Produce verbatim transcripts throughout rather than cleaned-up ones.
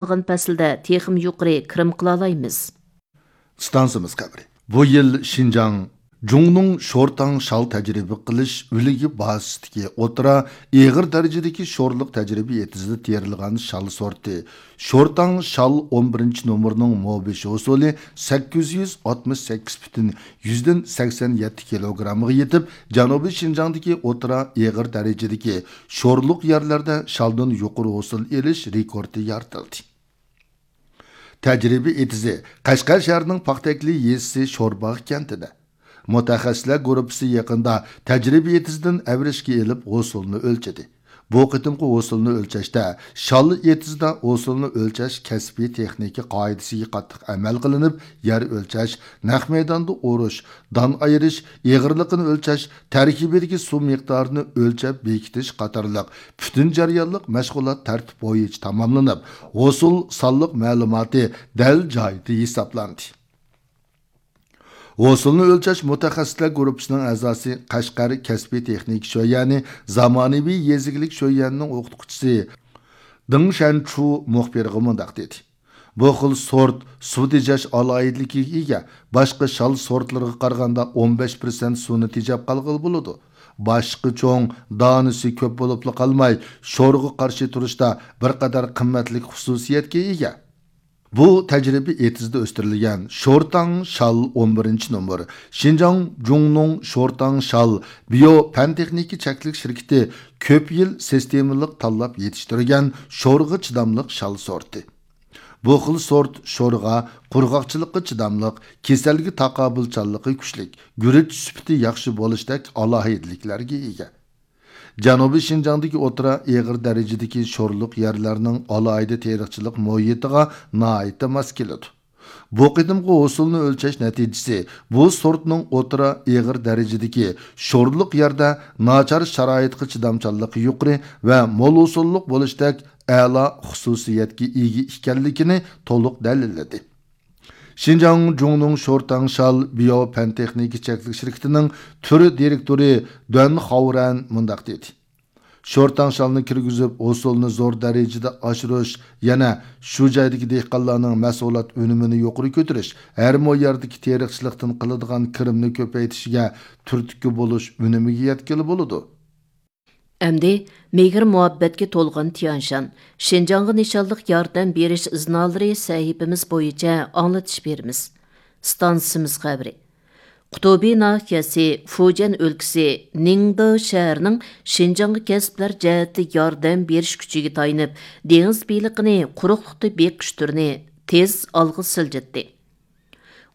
قالغان پەسىلدە تېخىمۇ يۇقىرى كىرىم قىلالايمىز. ئىستانسىمىز خەۋىرى. بۇ يىل شىنجاڭ جۇڭنىڭ شورتاڭ شال تەجرىبە قىلىش ئۆلىكى بازىسىدىكى ئوتتۇرا ئېغىر دەرىجىدىكى شورلۇق تەجرىبە ئېتىزىدا تېرىلغان شال سورتى شورتاڭ شال ئون بىرىنچى نومۇرىنىڭ مو بېشى ھوسۇلى سەككىز يۈز ئاتمىش سەككىز پۈتۈن يۈزدىن سەكسەن يەتتە كىلوگرامغا يېتىپ، جەنۇبىي شىنجاڭدىكى ئوتتۇرا ئېغىر دەرىجىدىكى شورلۇق يەرلەردە شالدىن يۇقىرى ھوسۇل ئېلىش رېكورتى يارىتىلدى. تەجرىبە ئېتىزى قەشقەر شەھىرىنىڭ پاختەكلى يېزىسى شورباغ كەنتىدە. مۇتەخەسسىسلەر گۇرۇپپىسى يېقىندا تەجرىبە ئېتىزىدىن ئەۋرىشكە ئېلىپ ھوسۇلنى ئۆلچىدى. بۇ قېتىمقى ھوسۇلنى ئۆلچەشتە شال ئېتىزىدا ھوسۇلنى ئۆلچەش كەسپىي تېخنىكا قائىدىسىگە قاتتىق ئەمەل قىلىنىپ، يەر ئۆلچەش، نەق مەيداندا ئۇرۇش، دان ئايرىش، ئېغىرلىقىنى ئۆلچەش، تەركىبىدىكى سۇ مىقدارىنى ئۆلچەپ بېكىتىش قاتارلىق پۈتۈن جەريانلىق مەشغۇلات تەرتىپ بويىچە تاماملىنىپ، ھوسۇل سانلىق مەلۇماتى دەل جايىدا ھېسابلاندى. ھوسۇلنى ئۆلچەش مۇتەخەسسىسلەر گۇرۇپپىسىنىڭ ئەزاسى، قەشقەر كەسپىي تېخنىكا شۆيۈەنى زامانىۋى يېزا ئىگىلىك شۆيۈەنىنىڭ ئوقۇتقۇچىسى دېڭ شەنچۇ مۇخبىرغا مۇنداق دېدى: بۇ خىل سورت سۇ تېجەش ئالاھىدىلىكىگە ئىگە، باشقا شال سورتلىرىغا قارىغاندا ئون بەش پىرسەنت سۇنى تېجەپ قالغىلى بولىدۇ. باشقا چوڭ، دانىسى كۆپ بولۇپلا قالماي، شورغا قارشى تۇرۇشتا بىر قەدەر قىممەتلىك خۇسۇسىيەتكە ئىگە. بۇ تەجرىبە ئېتىزىدا ئۆستۈرۈلگەن شورتاڭ شال ئون بىرىنچى نومۇر، شىنجاڭ جۇڭنۇڭ شورتاڭ شال بىيو پەن تېخنىكا چەكلىك شىركىتى كۆپ يىل سىستېمىلىق تاللاپ يېتىشتۈرگەن شورغا چىداملىق شال سورتى. بۇ خىل سورت شورغا، قۇرغاقچىلىققا چىداملىق، كېسەلگە تاقابىلچانلىقى كۈچلۈك، گۈرۈچ سۈپىتى ياخشى بولۇشتەك ئالاھىدىلىكلەرگە ئىگە. جەنۇبىي شىنجاڭدىكى ئوتتۇرا ئېغىر دەرىجىدىكى شورلۇق يەرلەرنىڭ ئالاھىدە تېرىقچىلىق مۇھىتىغا ناھايىتى ماس كېلىدۇ. بۇ قېتىمقى ھوسۇلنى ئۆلچەش نەتىجىسى بۇ سورتنىڭ ئوتتۇرا ئېغىر دەرىجىدىكى شورلۇق يەردە ناچار شارائىتقا چىدامچانلىقى يۇقىرى ۋە مول ھوسۇللۇق بولۇشتەك ئەلا خۇسۇسىيەتكە ئىگە ئىكەنلىكىنى تولۇق دەلىللىدى. شىنجاڭ جۇڭنىڭ شورتاڭ شال بىيو پەن تېخنىكا چەكلىك شىركىتىنىڭ تۈر دىرېكتورى دۈەن خاۋرەن مۇنداق دېدى: شورتاڭ شالنى كىرگۈزۈپ، ھوسۇلنى زور دەرىجىدە ئاشۇرۇش، يەنە شۇ جايدىكى دېھقانلارنىڭ مەھسۇلات ئۈنۈمىنى يۇقىرى كۆتۈرۈش، ھەر مو يەردىكى تېرىقچىلىقتىن قىلىدىغان كىرىمنى كۆپەيتىشىگە تۈرتكە بولۇش ئۈنۈمىگە يەتكىلى بولىدۇ. ئەمدى مېھىر-مۇھەببەتكە تولغان تيانشان، شىنجاڭغا نىشانلىق ياردەم بېرىش ئىزنالىرى سەھىپىمىز بويىچە ئاڭلىتىش بېرىمىز. ئىستانسىمىز خەۋىرى. قۇتۇبى ناھىيەسى، فۇجيەن ئۆلكىسى، نىڭدې شەھىرىنىڭ شىنجاڭغا كەسىپلەر جەھەتتە ياردەم بېرىش كۈچىگە تايىنىپ، دېڭىز بېلىقىنى قۇرۇقلۇقتا بېقىش تۈرىنى تېز ئالغا سىلجىتتى.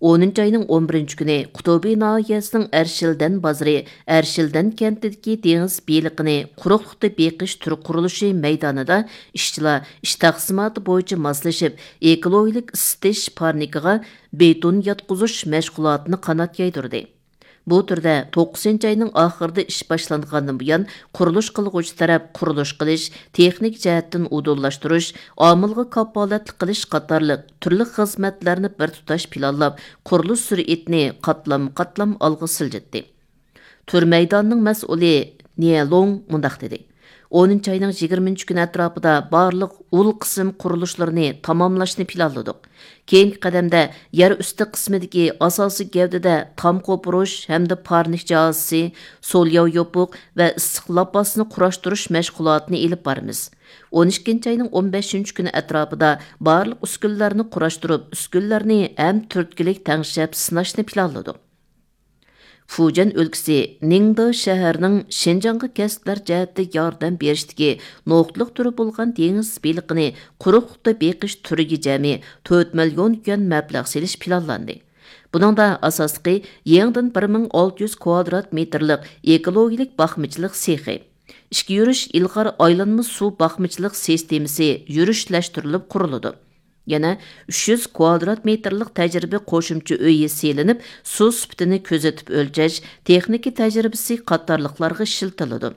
ئونىنچى ئاينىڭ ئون بىرىنچى كۈنى قۇتۇبى ناھىيەسىنىڭ ئەرشىلدەن بازىرى، ئەرشىلدەن كەنتىدىكى دېڭىز بېلىقىنى قۇرۇقلۇقتا بېقىش تۈرى قۇرۇلۇشى مەيدانىدا ئىشچىلار ئىش تەقسىماتى بويىچە ماسلىشىپ، ئېكولوگىيەلىك ئىسسىتىش پارنىكىغا بېتون ياتقۇزۇش مەشغۇلاتىنى قانات يايدۇردى. بۇ تۈردە توققۇزىنچى ئاينىڭ ئاخىرىدا ئىش باشلانغاندىن بۇيان، قۇرۇلۇش قىلغۇچى تەرەپ قۇرۇلۇش قىلىش، تېخنىكا جەھەتتىن ئۇدۇللاشتۇرۇش، ئامىلغا كاپالەتلىك قىلىش قاتارلىق تۈرلۈك خىزمەتلەرنى بىر تۇتاش پىلانلاپ، قۇرۇلۇش سۈرئىتىنى قاتلام-قاتلام ئالغا سىلجىتتى. تۈر مەيدانىنىڭ مەسئۇلى نيې لوڭ مۇنداق دېدى: ئونىنچى ئاينىڭ يىگىرمىنچى كۈنى ئەتراپىدا بارلىق ئۇل قىسىم قۇرۇلۇشلىرىنى تاماملاشنى پىلانلىدۇق. كېيىنكى قەدەمدە يەر ئۈستى قىسمىدىكى ئاساسىي گەۋدىدە تام قوپۇرۇش ھەمدە پارنىك جاھازىسى، سولياۋ يوپۇق ۋە ئىسسىق لاپاسنى قۇراشتۇرۇش مەشغۇلاتىنى ئېلىپ بارىمىز. ئون ئىككىنچى ئاينىڭ ئون بەشىنچى كۈنى ئەتراپىدا بارلىق ئۈسكۈنىلەرنى قۇراشتۇرۇپ، ئۈسكۈنىلەرنى ھەم تۈرتكىلىك تەڭشەپ سىناشنى پىلانلىدۇق. فۇجيەن ئۆلكىسى نىڭدې شەھىرىنىڭ شىنجاڭغا كەسىپلەر جەھەتتە ياردەم بېرىشتىكى نۇقتىلىق تۈرى بولغان دېڭىز بېلىقىنى قۇرۇقلۇقتا بېقىش تۈرىگە جەمئىي تۆت مىليون يۈەن مەبلەغ سېلىش پىلانلاندى. بۇنىڭدا ئاساسلىقى يېڭىدىن بىر مىڭ ئالتە يۈز كۋادرات مېتىرلىق ئېكولوگىيەلىك باقمىچىلىق سېخى، ئىككى يۈرۈش ئىلغار ئايلانما سۇ باقمىچىلىق سىستېمىسى يۈرۈشلەشتۈرۈلۈپ قۇرۇلىدۇ. يەنە ئۈچ يۈز كۋادرات مېتىرلىق تەجرىبە قوشۇمچە ئۆيى سېلىنىپ، سۇ سۈپىتىنى كۆزىتىپ ئۆلچەش، تېخنىكا تەجرىبىسى قاتارلىقلارغا ئىشلىتىلىدۇ.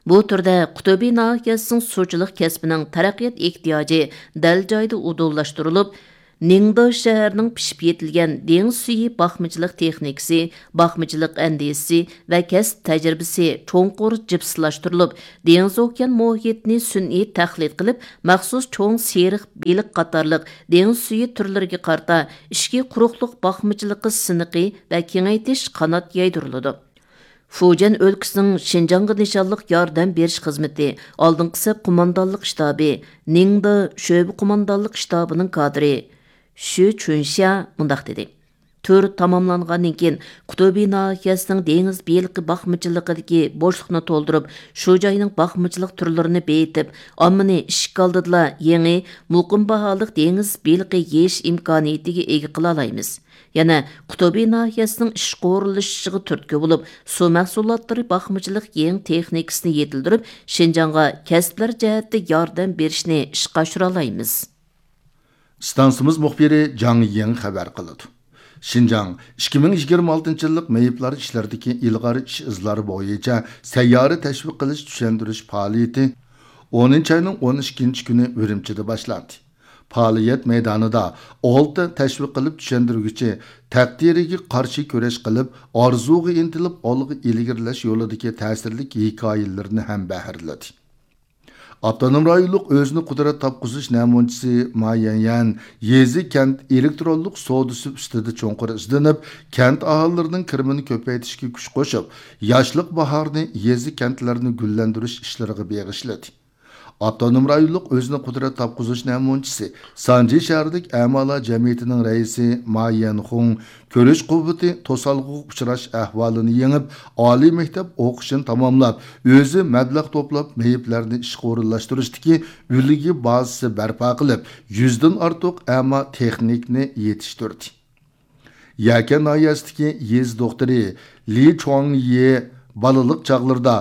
بۇ تۈردە قۇتۇبى ناھىيەسىنىڭ سۇچىلىق كەسپىنىڭ تەرەققىيات ئېھتىياجى دەل جايىدا ئۇدۇللاشتۇرۇلۇپ، نىڭدې شەھىرىنىڭ پىشىپ يېتىلگەن دېڭىز سۈيى باقمىچىلىق تېخنىكىسى، باقمىچىلىق ئەندىزىسى ۋە كەسىپ تەجرىبىسى چوڭقۇر جىپسلاشتۇرۇلۇپ، دېڭىز ئوكيان مۇھىتىنى سۈنئىي تەقلىد قىلىپ، مەخسۇس چوڭ سېرىق بېلىق قاتارلىق دېڭىز سۈيى تۈرلىرىگە قارىتا ئىچكى قۇرۇقلۇق باقمىچىلىقى سىنىقى ۋە كېڭەيتىش قانات يايدۇرۇلىدۇ. فۇجيەن ئۆلكىسىنىڭ شىنجاڭغا نىشانلىق ياردەم بېرىش خىزمىتى ئالدىنقى سەپ قوماندانلىق شتابى، نىڭدې شۆبە قوماندانلىق شتابىنىڭ كادىرى شۈ چۈنشيا مۇنداق دېدى: تۈر تاماملانغاندىن كېيىن، قۇتۇبى ناھىيەسىنىڭ دېڭىز بېلىقى باقمىچىلىقىدىكى بوشلۇقنى تولدۇرۇپ، شۇ جاينىڭ باقمىچىلىق تۈرلىرىنى بېيىتىپ، ئاممىنى ئىشىك ئالدىدىلا يېڭى، مۇقىم باھالىق دېڭىز بېلىقى يېيىش ئىمكانىيىتىگە ئىگە قىلالايمىز. يەنە قۇتۇبى ناھىيەسىنىڭ ئىشقا ئورۇنلىشىشىغا تۈرتكە بولۇپ، سۇ مەھسۇلاتلىرى باقمىچىلىق يېڭى تېخنىكىسىنى يېتىلدۈرۈپ، شىنجاڭغا كەسىپلەر جەھەتتە ياردەم بېرىشنى ئىشقا ئاشۇرالايمىز. ئىستانسىمىز مۇخبىرى جاڭ يىڭ خەۋەر قىلىدۇ. شىنجاڭ ئىككى مىڭ يىگىرمە ئالتىنچى يىللىق مېيىپلار ئىشلىرىدىكى ئىلغار ئىش ئىزلار بويىچە سەييارە تەشۋىق قىلىش چۈشەندۈرۈش پائالىيىتى ئونىنچى ئاينىڭ ئون ئىككىنچى كۈنى ئۈرۈمچىدە باشلاندى. پائالىيەت مەيدانىدا ئالتە تەشۋىق قىلىپ چۈشەندۈرگۈچى تەقدىرىگە قارشى كۈرەش قىلىپ، ئارزۇغا ئىنتىلىپ ئالغا ئىلگىرىلەش يولىدىكى تەسىرلىك ھېكايىلىرىنى ھەم بەھرىلىدى. ئاپتونوم رايونلۇق ئۆزىنى قۇدرەت تاپقۇزۇش نەمۇنىچىسى ما يەنيەن يېزا، كەنت ئېلېكترونلۇق سودىسى ئۈستىدە چوڭقۇر ئىزدىنىپ، كەنت ئاھالىلىرىنىڭ كىرىمىنى كۆپەيتىشكە كۈچ قوشۇپ، ياشلىق باھارىنى يېزا، كەنتلەرنى گۈللەندۈرۈش ئىشلىرىغا بېغىشلىدى. ئاپتونوم رايونلۇق ئۆزىنى قۇدرەت تاپقۇزۇش نەمۇنىچىسى، سانجى شەھەرلىك ئەمالار جەمئىيىتىنىڭ رەئىسى ما يەنخۇڭ كۆرۈش قۇۋۋىتى توسالغۇغا ئۇچراش ئەھۋالىنى يېڭىپ، ئالىي مەكتەپ ئوقۇشىنى تاماملاپ، ئۆزى مەبلەغ توپلاپ، مېيىپلەرنى ئىشقا ئورۇنلاشتۇرۇشتىكى ئۈلگە بازىسى بەرپا قىلىپ، يۈزدىن ئارتۇق ئەما تېخنىكنى يېتىشتۈردى. يەكەن ناھىيەسىدىكى يېزا دوختۇرى لى چۇاڭيې بالىلىق چاغلىرىدا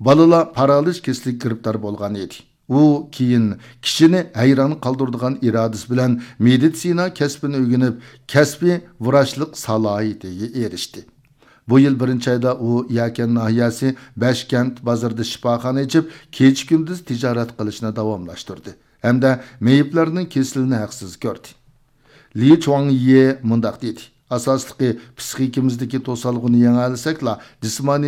بالىلار پارالىچ كېسىلىگە گىرىپتار بولغان ئىدى. ئۇ كېيىن كىشىنى ھەيران قالدۇرىدىغان ئىرادىسى بىلەن مېدىتسىنا كەسپىنى ئۆگىنىپ، كەسپىي ۋراچلىق سالاھىيىتىگە ئېرىشتى. بۇ يىل بىرىنچى ئايدا ئۇ يەكەن ناھىيەسى بەشكەنت بازىرىدا شىپاخانا ئېچىپ، كېچە-كۈندۈز تىجارەت قىلىشنى داۋاملاشتۇردى ھەمدە مېيىپلەرنىڭ كېسىلىنى ھەقسىز كۆردى. لى چۇاڭيې مۇنداق دېدى: ئاساسلىقى پىسخىكىمىزدىكى توسالغۇنى يېڭەلىسەكلا، جىسمانىي